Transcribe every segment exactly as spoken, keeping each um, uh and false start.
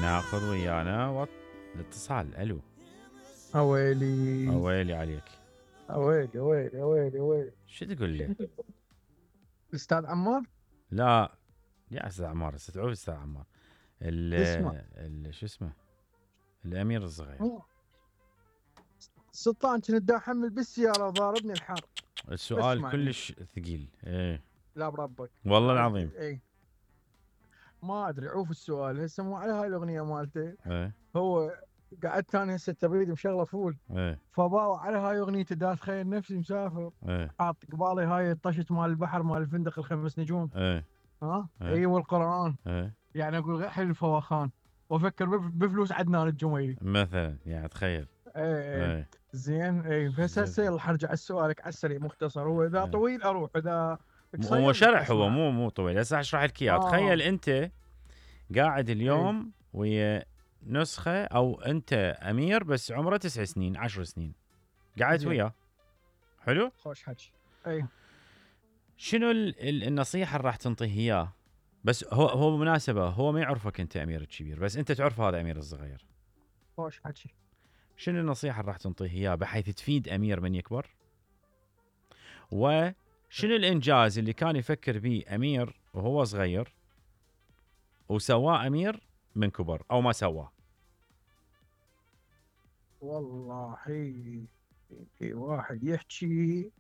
ناخذ ويانا وط... الاتصال. الو. اويلي اويلي عليك. اويلي اويلي اويلي اويلي شو تقول لي؟ الاستاذ عمار؟ لا يا استاذ عمار، استدعوه استاذ عمار. اسمع ال شو اسمه؟ الامير الصغير. سلطان كنت دا احمل بالسياره ضاربني الحر. السؤال كلش ثقيل. ايه لا بربك والله العظيم. ايه ما ادري. عوف السؤال هسه مو على هاي الاغنيه مالته. ايه هو قعدت انا هسه تبريد مشغله فول. ايه فباوع على هاي اغنيته دا اتخيل نفسي مسافر. ايه حاط قبالي هاي الطشت مال البحر مال الفندق الخمس نجوم. ايه ها ايه اي والقران. ايه يعني اقول غير حلو الفواخان وافكر بف- بفلوس عدنان الجميلي مثلا. يعني تخيل. ايه ايه زين. اي بس هسه يلا حرجع سؤالك على السريع مختصر. هو اذا ايه. طويل اروح، اذا هو شرح، أسمع. هو مو مو طويل. هسه اشرح لك اياه. آه. تخيل انت قاعد اليوم ايه. ويا نسخه، او انت امير بس عمره تسع سنين عشر سنين قعدت وياه. حلو. خوش حكي. اي شنو ال ال النصيحه اللي راح تنطيه اياه؟ بس هو هو بالمناسبه هو ما يعرفك انت امير الكبير، بس انت تعرف هذا امير الصغير. خوش حكي. شنو النصيحه اللي راح تنطيه اياه بحيث تفيد امير من يكبر؟ وشنو الانجاز اللي كان يفكر به امير وهو صغير وسواه امير من كبر او ما سواه؟ والله في واحد يحكي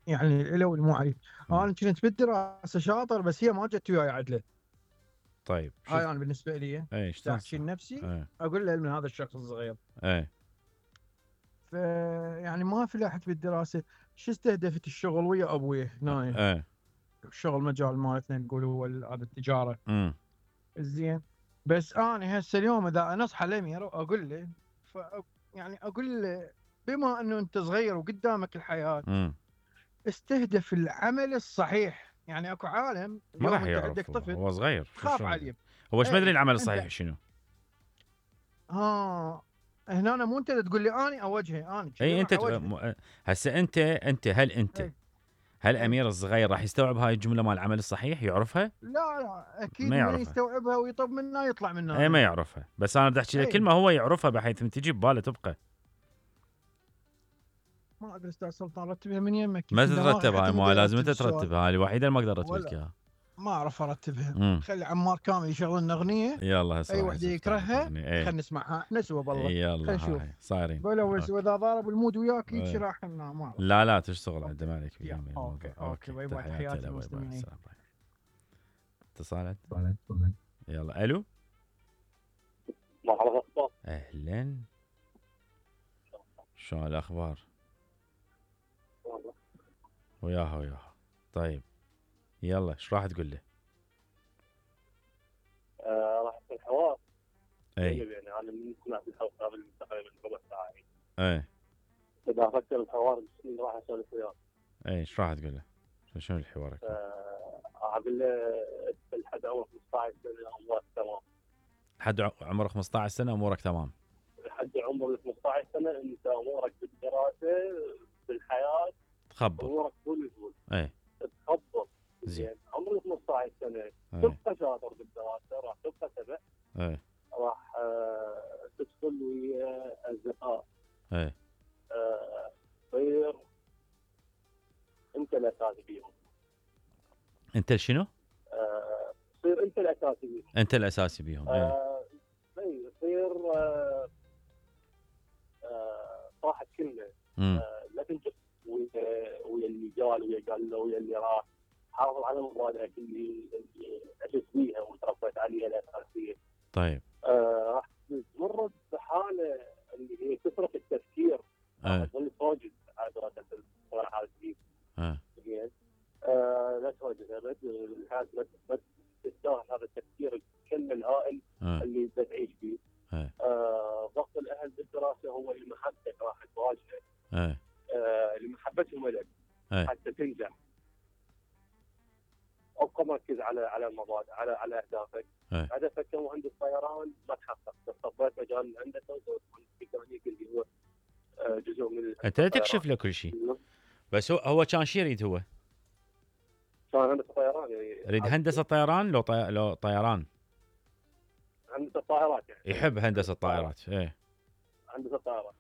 يعني الالو المعي. انا كنت بالدراسه شاطر بس هي ما جت وياي عدله. طيب هاي انا بالنسبه لي ايش احكي لنفسي. ايه. اقول له من هذا الشخص الصغير. ايه ف يعني ما فلحت بالدراسه. شو استهدفت الشغل ويا ابوي هنا. ايه الشغل مجال مالتنا نقول هو هذا التجاره. امم زين. بس انا هسه اليوم اذا انصح الامير اقول له ف يعني اقول له بما انه انت صغير وقدامك الحياه امم استهدف العمل الصحيح. يعني اكو عالم ما راح اليوم انت عندك يعرف، طفل هو صغير. تخاف عليه. هو ايش ايه مدري العمل انت الصحيح شنو؟ ها هنا أنا مو انت تقول لي اني اوجهه اني اي انت ت... هسه انت انت هل انت ايه. هل ايه. امير الصغير راح يستوعب هاي الجمله مال العمل الصحيح؟ يعرفها؟ لا لا اكيد ما ما يعرفها. يستوعبها ويطب منها يطلع منها. اي ما يعرفها. بس انا بدي احكي لك ايه. كلمه هو يعرفها بحيث من تجي بباله تبقى. ما ادري استاذ سلطان رتبها من يمك. ما تترتب هاي، ما لازم انت ترتبها. هاي الوحيده اللي ما اقدر ارتب لك اياها. ما اعرف ارتبها. امم خلي عمار كامل يشغل لنا اغنيه. يلا هسه اي راح وحده يصير يكرهها ايه. خلينا نسمعها احنا سوا بالله. يلا خلينا نشوف هاي صايرين. بلو واذا ضارب المود وياك ايه. هيك راح ما أعرف. لا لا تشتغل عنده ما عليك يا، بيهم الموضوع. اوكي اوكي باي باي تحياتي تحياتي له، باي باي. المستمعين. السلام باي. اتصالات. اتصالات. يلا الو. مرحبا. اهلا. شلون الاخبار؟ وياها وياها. طيب يلا ايش راح تقول له؟ آه راح يكون حوار. اي يعني انا من سمعت الحلقه قبل تقريبا ربع ساعه. اي اذا افكر الحوار اللي راح اسولف وياه. اي ايش راح تقول له؟ شنو الحوار؟ آه اقول له لحد عمر خمسة عشر سنه امورك تمام. لحد عمر خمسة عشر سنه امورك تمام. لحد عمر خمسة عشر سنه انت امورك بالدراسه بالحياه تخبط امورك فل فل. اي تخبط. زين. عمرك خمسة عشر سنه اي تبقى شاطر بالدراسه راح تبقى سبع. اي راح آه تدخل ويا اصدقاء. اي تصير آه انت الاساسي بيهم. انت شنو؟ آه تصير انت الاساسي بيهم. انت الاساسي بيهم. اي آه اي يصير آه آه صاحب كلمه. آه لا تنجح ويا ويا اللي جال ويا قال له ويا اللي راح. حافظ على مبادئك اللي اللي عشت بيها وتربيت عليها الاساسيه. طيب آه راح تمر بحاله اللي هي كثره التفكير. اي تظل تواجد عادة الصراحه هذه. اي زين. آه لا تواجد ابد الحياه ما تستاهل هذا التفكير الكم الهائل اي اللي تعيش فيه. اي آه ضغط الاهل بالدراسه هو اللي محبتك راح تواجهه. اي آه اللي محبتهم لك اي حتى تنجح. ابقى مركز على على المبادئ على على اهدافك. اي هدفك كمهندس طيران ما تحقق. طبيت مجال الهندسه وسويت مهندس ميكانيكي اللي هو آه جزء من انت تكشف له كل شيء. بس هو هو كان شي يريد؟ هو كان هندسه طيران يعني يريد هندسه طيران لو طي... لو طيران هندسه هندسه الطائرات يعني. يحب هندسه الطائرات. ايه هندسه الطائرات.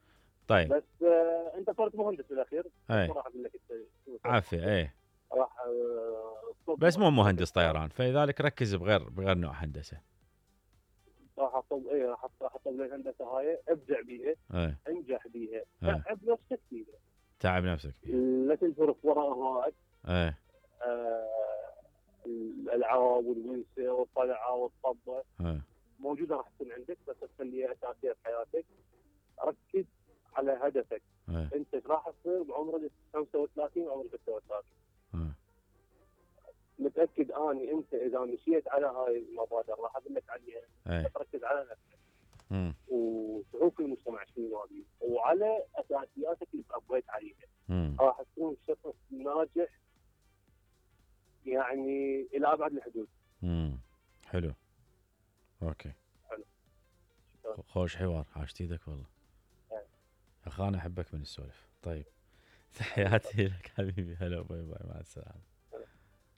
طيب بس آه انت صرت مهندس بالاخير. ايه راح اقول لك انت شو عافيه. ايه راح آه طب بس مو مهندس طيران، فلذلك ركز بغير بغير نوع هندسه. راح اطب ايه راح راح اطب لي الهندسه هاي، ابدع بيها، ايه انجح بيها، إيه. تعب نفسك فيها، تعب نفسك فيها. لا تنفرط وراء هواك. ايه آه الالعاب والونسه والطلعه والطبه ايه موجوده راح تكون عندك، بس تخليها اساسيه في حياتك. ركز على هدفك. ايه انت ايش راح تصير بعمرك خمسة وثلاثين وعمرك ستة وثلاثين. ايه متاكد اني انت اذا مشيت على هاي المبادئ راح اقول لك عليها، ايه تركز على نفسك امم وشوف المجتمع شنو يبي، وعلى اساسياتك اللي تربيت عليها امم راح تكون شخص ناجح يعني الى ابعد الحدود. امم حلو. اوكي حلو. خوش حوار، عاشت ايدك والله. إيه. اخانا احبك من السولف. طيب تحياتي لك حبيبي، هلا باي باي، مع السلامه.